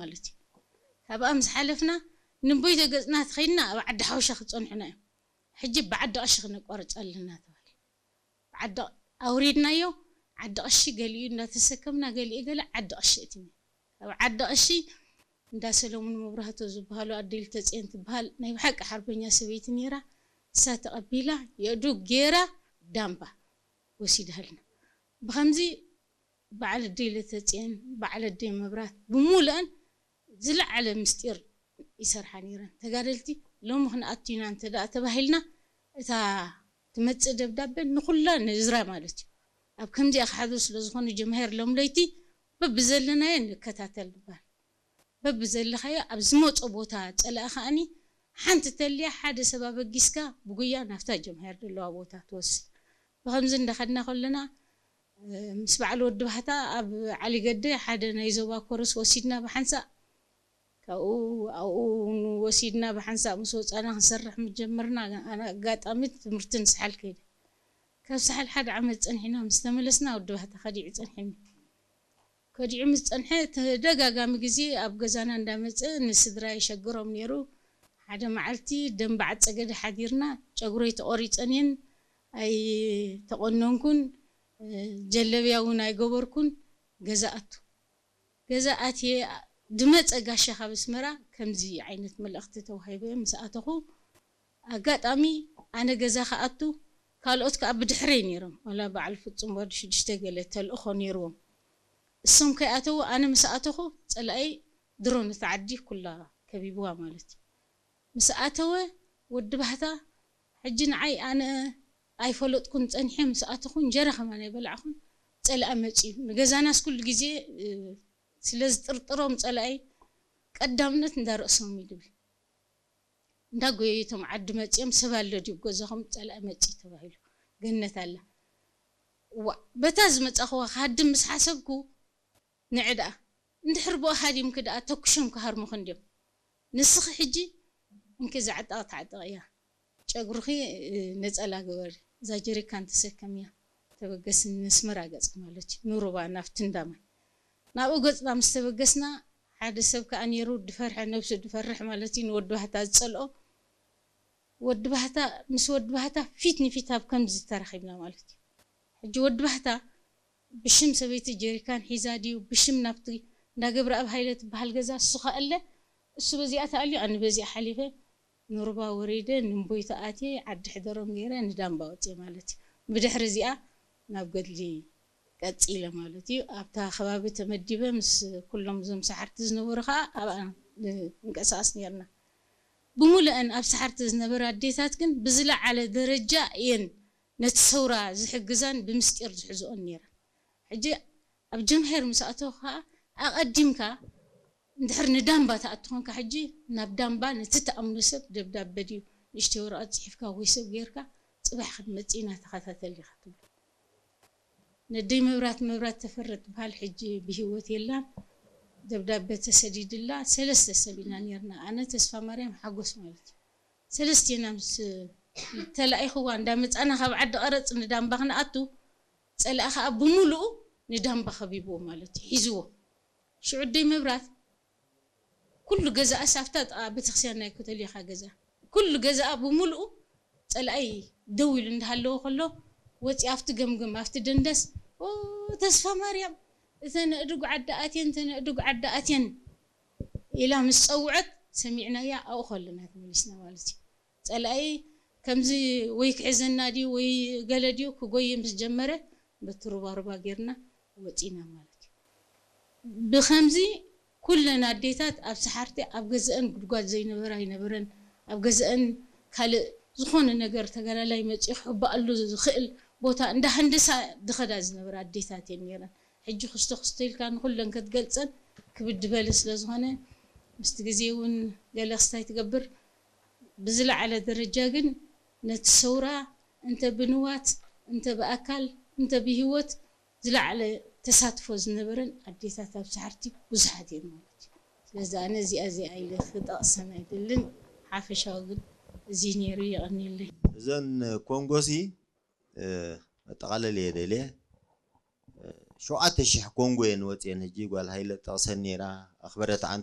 ማለት እዩ። ካብኣ ምስ ሓለፍና ንቦይ ተገፅና ተኸይድና ኣብ ዓዲ ሓውሻ ክፀንሑና እዮም። ሕጂ ብዓዲ ቀሺ ክነቋርፅ ኣለና ተባሂሉ። ብዓዲ ኣውሪድናዮ። ዓዲ ቀሺ ገሊኡ እንዳተሰከምና፣ ገሊኡ ገለ ዓዲ ቀሺ እትኒ። ኣብ ዓዲ ቀሺ እንዳ ሰለሙን መብራህቶ ዝበሃሉ ኣዴ ልተፅየን ትበሃል ናይ ብሓቂ ሓርበኛ ሰበይቲ ነይራ። እሳ ተቐቢላ የእዱ ገይራ ዳምባ ወሲዳልና። ብኸምዚ በዓል ኣደይ ለተፅየን፣ በዓል ኣደይ መብራት ብሙሉአን ዝለዓለ ምስጢር ይሰርሓ ነይረን። ተጋደልቲ ሎሚ ክንኣቱ ኢና እንተ ደኣ ተባሂልና፣ እታ ትመጽእ ደብዳበ ንኹላ ንዝራ ማለት እዩ። ኣብ ከምዚኣ ክሓዙ ስለ ዝኾኑ ጀምሄር ሎም ለይቲ በብዘለናዮ ንከታተል ንባል። በብዘለኻዮ ኣብ ዝመጾ ቦታ ጸላኢ ከኣኒ ሓንቲ ተልያ ሓደ ሰብ ኣበጊስካ ብጉያ ናብታ ጀምሄር ዘለዋ ቦታ ትወስድ። ብኸምዚ እንዳኸድና ከለና፣ ምስ በዓል ወዲ ባህታ ኣብ ዓሊ ገደ ሓደ ናይ ዞባ ኮርስ ወሲድና ብሓንሳእ። ካብኡ ኣብኡ እውን ወሲድና ብሓንሳእ ምስ ወፃና ክንሰርሕ ምጀመርና። ኣነ ኣጋጣሚ ትምህርቲ ንስሓል ከይደ። ካብ ሳሕል ሓደ ዓመት ፀንሒና ምስ ተመለስና ወዲ ባህታ ከዲዑ ፀንሒኒ። ከዲዑ ምስ ፀንሐ ተደጋጋሚ ግዜ ኣብ ገዛና እንዳመፀ ንስድራ የሸግሮም ነይሩ። ሓደ መዓልቲ ደንበ ዓፀገደ ሓዲርና፣ ጨጉረይ ተቆሪፀን እየን፣ ኣይተቆነንኩን፣ ጀለብያ እውን ኣይገበርኩን። ገዛ ኣቱ። ገዛ ኣትየ ድመፀ ጋሻ ካብ ኣስመራ ከምዚ ዓይነት መልእኽቲ ተዋሂበ ምስ ኣተኹ፣ ኣጋጣሚ ኣነ ገዛ ክኣቱ፣ ካልኦት ከኣ ብድሕረይ ነይሮም። ዋላ በዓል ፍጹም ወዲ ሽዱሽተ ገለ ተልእኾ ነይርዎም። እሶም ከይኣተዉ ኣነ ምስ ኣተኹ፣ ጸላኢ ድሮ ነታ ዓዲ ኩላ ከቢብዋ ማለት እዩ። ምስ ኣተወ ወዲ ባህታ፣ ሕጂ ንዓይ ኣነ ኣይፈለጥኩን ጸኒሐ ምስ ኣተኹ እንጀራ ከማን ኣይበላዕኹን፣ ጸላኢ መጺኡ። ንገዛናስ ኩሉ ግዜ፣ እ፣ ስለ ዝጥርጥሮም ጸላኢ ቀዳምነት እንዳ ርእሶም እዩ ድብል። እንዳ ጎየይቶም ዓዲ መጺኦም ሰብ ኣሎ ድዩ ገዛኹም ጸላኢ መጺኡ ተባሂሉ። ገነት ኣላ። ዋእ፣ በታ ዝመጻኹዋ ክሃድም ምስ ሓሰብኩ፣ ንዒ ደኣ፣ እንድሕር ብኡ ሃዲምኪ ደኣ ተኩሾም ክሃርሙኺ እንድዮም። ንስኺ ሕጂ እንኪ እዛ ዕጣቕ ተዓጠቕያ፣ ጨጉርኺ፣ እ፣ ነጸላ ግበሪ፣ እዛ ጀሪካን ተሰከምያ፣ ተበገስኒ ነስመራ ገጽኪ ማለት እዩ፣ ንሩባ ናብቲ እንዳ ማይ። ናብኡ ገጽና ምስ ተበገስና፣ ሓደ ሰብ ከኣ ነይሩ ድፈርሐ፣ ነብሱ ድፈርሕ ማለት እዩ፣ ንወዲ ባህታ ዝጸልኦ። ወዲ ባህታ፣ ምስ ወዲ ባህታ ፊት ንፊት ኣብ ከምዚ ተራኺብና ማለት እዩ። ሕጂ ወዲ ባህታ ብሽም ሰበይቲ ጀሪካን ሒዛ ድዩ፣ ብሽም ናብቲ እንዳ ገብረኣብ ሃይለ ትበሃል ገዛ እሱ ከኣለ፣ እሱ በዚኣ ተኣልዩ፣ ኣነ በዚኣ ሓሊፈ፣ ንሩባ ወሪደ፣ ንእምቦይታ ኣትየ፣ ዓዲ ሕደሮም ገይረ፣ ንዳምባ ወፅየ ማለት እዩ። ብድሕሪ እዚኣ ናብ ገድሊ ቀፂለ ማለት እዩ። ኣብታ ከባቢ ተመዲበ ምስ ኩሎም እዞም ሰሓርቲ ዝነበሩ ከዓ ኣብኣ ንንቀሳቐስ ነይርና። ብምሉአን ኣብ ሰሓርቲ ዝነበራ ኣዴታት ግን ብዝለዓለ ደረጃ እየን ነቲ ሰውራ ዝሕግዛን ብምስጢር ዝሕዝኦን ነይረን። ሕጂ ኣብ ጀምሄር ምስ ኣተኹ ከዓ ኣቐዲምካ እንድሕር ንዳምባ ትኣቱ ኾንካ፣ ሕጂ ናብ ዳምባ ነቲ ትኣምኖ ሰብ ደብዳበ ድዩ ንእሽተይ ወረቐት ጽሒፍካ ወይ ሰብ ጌርካ፣ ጽባሕ ክትመጽእ ኢና፣ ተኸታተል ኢኻ ትብሎ። ነደይ መብራት፣ መብራት ተፈረ ትበሃል፣ ሕጂ ብህይወት የላን። ደብዳበ ተሰዲድላ፣ ሰለስተ ሰብ ኢና ኔርና፣ ኣነ፣ ተስፋ ማርያም፣ ሓጎስ ማለት እዩ። ሰለስቴና ምስ ተላኢኽዋ እንዳመጻና ካብ ዓዲ ቀረጽ ንዳምባ ክንኣቱ፣ ጸላኢ ከኣ ብምሉኡ ንዳምባ ከቢብዎ ማለት እዩ፣ ሒዝዎ። ሽዑ ኣደይ መብራት ኩሉ ገዛኣስ ኣብታ ጥቓ ቤተክርስትያን ናይ ኮተሊኻ ገዛ፣ ኩሉ ገዛኣ ብምሉኡ ጸላኢ ደው ኢሉ እንዳሃለወ ከሎ፣ ወጺኣ ኣብቲ ገምገም፣ ኣብቲ ደንደስ፣ "ኦ፣ ተስፋ ማርያም፣ እተን ኣእዱግ ዓዲ ኣትየን፣ እተን ኣእዱግ ዓዲ ኣትየን" ኢላ ምስ ጸውዐት፣ ሰሚዕናያ፣ ኣብኡ ከለና ተመሊስና ማለት እዩ። ጸላኢ ከምዚ ወይ ክሕዘና ድዩ ወይ ገለ ድዩ ክጎይ ምስ ጀመረ፣ በቲ ሩባሩባ ጌርና ወጺና ማለት እዩ። ብኸምዚ ኩለን ኣዴታት ኣብ ሰሓርቲ ኣብ ገዘአን ጉድጓድ ዘይነበረ ኣይነበረን። ኣብ ገዘአን ካልእ ዝኾነ ነገር ተጋዳላይ መጺኡ ክሕባኣሉ ዝኽእል ቦታ እንዳ ሃንደሳ ዝኸዳ ዝነበራ ኣዴታት እየን ኔረን። ሕጂ ክስቶ ክስቶ ኢልካ ንኹለን ክትገልጸን ክብድ በለ ስለ ዝኾነ፣ ምስቲ ግዜ እውን ገለ ክስታይ ትገብር። ብዝለዓለ ደረጃ ግን ነቲ ሰውራ እንተ ብንዋት፣ እንተ ብኣካል፣ እንተ ብህይወት ዝለዓለ ተሳትፎ ዝነበረን ኣዴታት ኣብ ሰሓርቲ ብዙሓት እየን ማለት እዩ። ስለዚ ኣነ እዚኣ እዚኣ ኢለ ክጠቕሰን ኣይደልን። ሓፈሻዊ ግን እዚ ነይሩ፣ የቐንየለይ። እዘን ኮንጎሲ፣ እ፣ መጠቓለል እየ ደልየ። እ፣ ሸውዓተ ሽሕ ኮንጎ እየን ወፅየን። ሕጂ ጓል ሃይለ ጠቕሰን ነይራ፣ ኣኽበረት ዓንተ